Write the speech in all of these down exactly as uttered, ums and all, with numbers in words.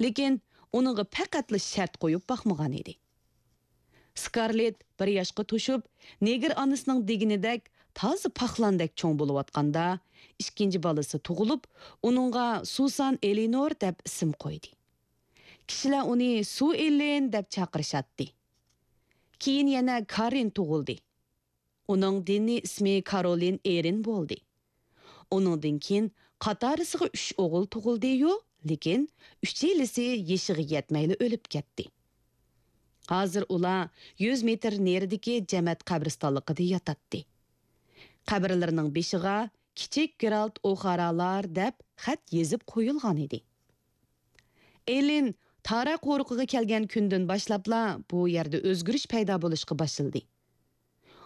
لېكىن ئۇنىڭغا پەقەتلا شەرت قويۇپ باقمىغان ئىدى. سكارلېت بىر ياشقا توشۇپ، نېگىر ئانىسىنىڭ دېگىنىدەك تازا پاخلاندەك چوڭ بولۇۋاتقاندا، ئىككىنچى بالىسى تۇغۇلۇپ، ئۇنىڭغا سۇسان ئېلىنور دەپ ئىسىم قويدى. كىشىلەر ئۇنى سۇ ئېللىن دەپ چاقىرىشاتتى. كېيىن يەنە كاررىن تۇغۇلدى. ئۇنىڭ دىنىي ئىسمى كارولىن ئېرىن بولدى. ئۇنىڭدىن كېيىن قاتارىسىغا ئۈچ ئوغۇل تۇغۇلدى-يۇ، لېكىن ئۈچەيلىسى يېشىغا يەتمەيلا ئۆلۈپ كەتتى. ھازىر ئۇلار يۈز مېتىر نېرىدىكى جەمەت قەبرىستانلىقىدا ياتاتتى. قەبرىلىرىنىڭ بېشىغا «كىچىك گېرالت ئوخارالار» دەپ خەت يېزىپ قويۇلغان ئىدى. ئېللىن تارا قورۇقىغا كەلگەن كۈندىن باشلاپلا بۇ يەردە ئۆزگىرىش پەيدا بولۇشقا باشلىدى.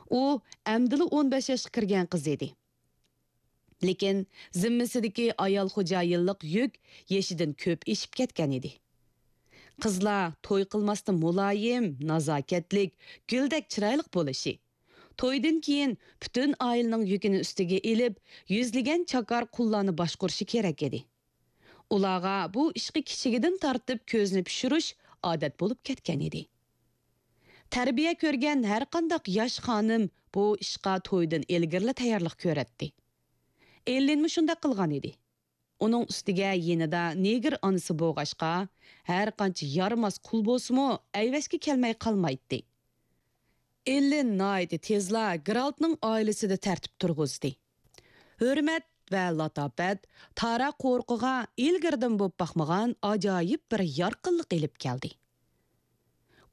ئۇ ئەمدىلا ئون بەش ياشقا كىرگەن قىز ئىدى. لېكىن زىممىسىدىكى ئايال خوجايىنلىق يۈك يېشىدىن كۆپ ئېشىپ كەتكەن ئىدى. قىزلار توي قىلماستا مۇلايىم، نازاكەتلىك، گۈلدەك چىرايلىق بولۇشى، تويدىن كېيىن پۈتۈن ئائىلىنىڭ يۈكىنى ئۈستىگە ئېلىپ، يۈزلىگەن چاكار قۇللارنى باشقۇرۇشى كېرەك ئىدى. ئۇلارغا بۇ ئىشقا كىچىكىدىن تارتىپ كۆزنى پىشۇرۇش ئادەت بولۇپ كەتكەن ئىدى. تەربىيە كۆرگەن ھەرقانداق ياش خانىم بۇ ئىشقا تويدىن ئىلگىرىلا تەييارلىق كۆرەتتى. ئېللىنمۇ شۇنداق قىلغان ئىدى. ئۇنىڭ ئۈستىگە يېنىدا نېگىر ئانىسى بولغاچقا، ھەرقانچە يارىماس قۇل بولسىمۇ، ئەيۋەشكە كەلمەي قالمايتتى. ئېللىن ناھايىتى تېزلا گېرالتنىڭ ئائىلىسىدە تەرتىپ تۇرغۇزدى. ھۆرمەت ۋە لاتاپەت تارا قورۇقىغا ئىلگىرىدىن بولۇپ باقمىغان ئاجايىپ بىر يارقىنلىق ئېلىپ كەلدى.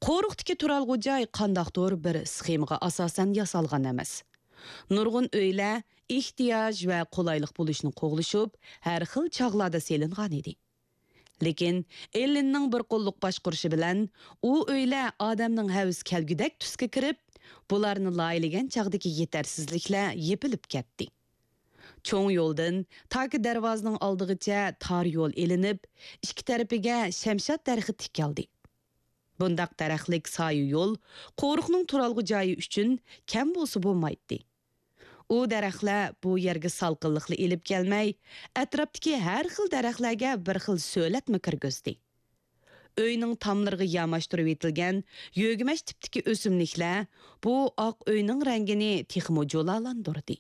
قورۇقتىكى تۇرالغۇ جاي قانداقتۇر بىر سخېمىغا ئاساسەن ياسالغان ئەمەس. نۇرغۇن ئۆيلەر ئېھتىياج ۋە قولايلىق بولۇشنى قوغلىشىپ، ھەر خىل چاغلاردا سېلىنغان ئىدى. لېكىن ئېللىننىڭ بىر قوللۇق باشقۇرۇشى بىلەن ئۇ ئۆيلەر ئادەمنىڭ ھەۋىسى كەلگۈدەك تۈسكە كىرىپ، بۇلارنى لايىھەلىگەن چاغدىكى يېتەرسىزلىكلەر يېپىلىپ كەتتى. چوڭ يولدىن تاكى دەرۋازىنىڭ ئالدىغىچە تار يول ئېلىنىپ، ئىككى تەرىپىگە شەمشاد دەرىخى تىكىلدى. بۇنداق دەرەخلىك سايە يول قورۇقنىڭ تۇرالغۇ جايى ئۈچۈن كەم بولسا بولمايتتى. ئۇ دەرەخلەر بۇ يەرگە سالقىنلىقلا ئېلىپ كەلمەي، ئەتراپتىكى ھەر خىل دەرەخلەرگە بىر خىل سۆلەتمۇ كىرگۈزدى. ئۆينىڭ تاملىرىغا ياماشتۇرۇۋېتىلگەن يۆگىمەچ تىپتىكى ئۆسۈملۈكلەر بۇ ئاق ئۆينىڭ رەڭگىنى تېخىمۇ جۇلالاندۇردى.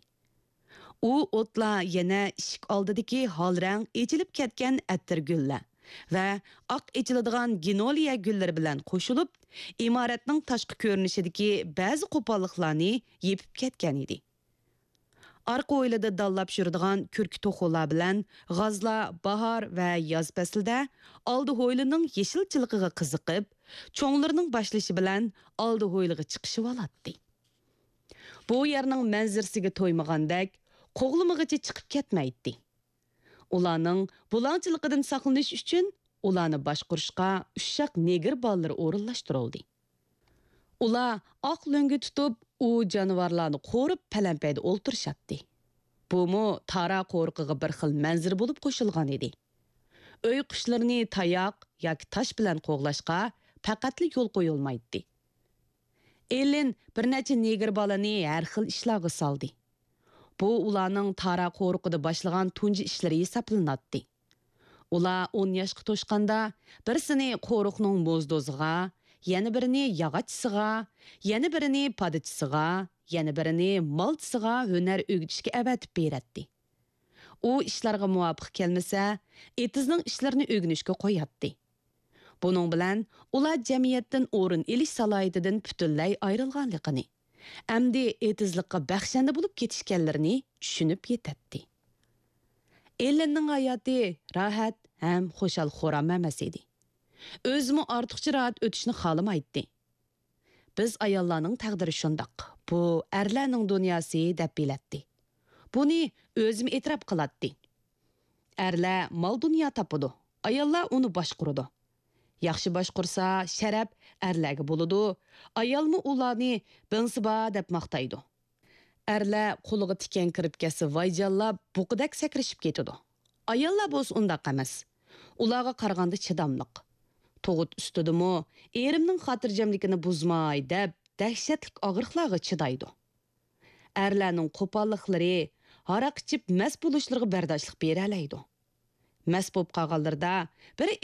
ئۇ ئوتلار يەنە ئىشىك ئالدىدىكى ھالرەڭ ئېچىلىپ كەتكەن ئەتىر گۈللەر ۋە ئاق ئېچىلىدىغان گىنولىيە گۈللىرى بىلەن قوشۇلۇپ، ئىمارەتنىڭ تاشقى كۆرۈنۈشىدىكى بەزى قوپاللىقلارنى يېپىپ كەتكەن ئىدى. ئارقا ھويلىدا دانلاپ يۈرىدىغان كۈركە توخۇلار بىلەن غازلار باھار ۋە ياز پەسلىدە ئالدى ھويلىنىڭ يېشىلچىلىقىغا قىزىقىپ، چوڭلىرىنىڭ باشلىشى بىلەن ئالدى ھويلىغا چىقىشىۋالاتتى. بۇ يەرنىڭ مەنزىرىسىگە تويمىغاندەك، قوغلىمىغىچە چىقىپ كەتمەيتتى. ئۇلارنىڭ بۇلاڭچىلىقىدىن ساقلىنىش ئۈچۈن ئۇلارنى باشقۇرۇشقا ئۇششاق نېگىر بالىلىرى ئورۇنلاشتۇرۇلدى. ئۇلار ئاق لۆڭگە تۇتۇپ، ئۇ جانىۋارلارنى قورۇپ پەلەمپەيدە ئولتۇرۇشاتتى. بۇمۇ تارا قورۇقىغا بىر خىل مەنزىرە بولۇپ قوشۇلغان ئىدى. ئۆي قۇشلىرىنى تاياق ياكى تاش بىلەن قوغلاشقا پەقەتلا يول قويۇلمايتتى. ئېللىن بىر نەچچە نېگىر بالىنى ھەر خىل ئىشلارغا سالدى. بۇ ئۇلارنىڭ تارا قورۇقىدا باشلىغان تۇنجى ئىشلىرى ھېسابلىناتتى. ئۇلار ئون ياشقا توشقاندا، بىرسىنى قورۇقنىڭ موزدوزىغا، يەنە بىرىنى ياغاچچىسىغا، يەنە بىرىنى پادىچىسىغا، يەنە بىرىنى مالچىسىغا ھۈنەر ئۆگىتىشكە ئەۋەتىپ بېرەتتى. ئۇ ئىشلارغا مۇۋاپىق كەلمىسە، ئېتىزنىڭ ئىشلىرىنى ئۆگىنىشكە قوياتتى. بۇنىڭ بىلەن ئۇلار جەمئىيەتتىن ئورۇن ئېلىش سالاھىيىتىدىن پۈتۈنلەي ئايرىلغانلىقىنى، ئەمدى ئېتىزلىققا بەخشەندە بولۇپ كېتىشكەنلىرىنى چۈشىنىپ يېتەتتى. ئېللىننىڭ ھاياتى راھەت ھەم خۇشال-خۇرام ئەمەس ئىدى. ئۆزىمۇ ئارتۇقچە راھەت ئۆتۈشنى خالىمايتتى. «بىز ئاياللارنىڭ تەقدىرى شۇنداق، بۇ ئەرلەرنىڭ دۇنياسى» دەپ بىلەتتى. بۇنى ئۆزىمۇ ئېتىراپ قىلاتتى. «ئەرلەر مال-دۇنيا تاپىدۇ، ئاياللار ئۇنى باشقۇرىدۇ. ياخشى باشقۇرسا، شەرەپ ئەرلەرگە بولىدۇ، ئايالمۇ ئۇلارنى بىڭسىبا دەپ ماختايدۇ. ئەرلەر قولىغا تىكەن كىرىپ كەتسە، ۋايجانلاپ بۇقىدەك سەكرىشىپ كېتىدۇ. ئاياللار بولسا ئۇنداق ئەمەس. ئۇلارغا قارىغاندا چىداملىق. تۇغۇت ئۈستىدىمۇ ئېرىمنىڭ خاتىرجەملىكىنى بۇزماي دەپ، دەھشەتلىك ئاغرىقلارغا چىدايدۇ. ئەرلەرنىڭ قوپاللىقلىرى، ھاراق ئىچىپ مەست بولۇشلىرىغا بەرداشلىق بېرەلەيدۇ. مەست بولۇپ قالغانلىرىدا بىر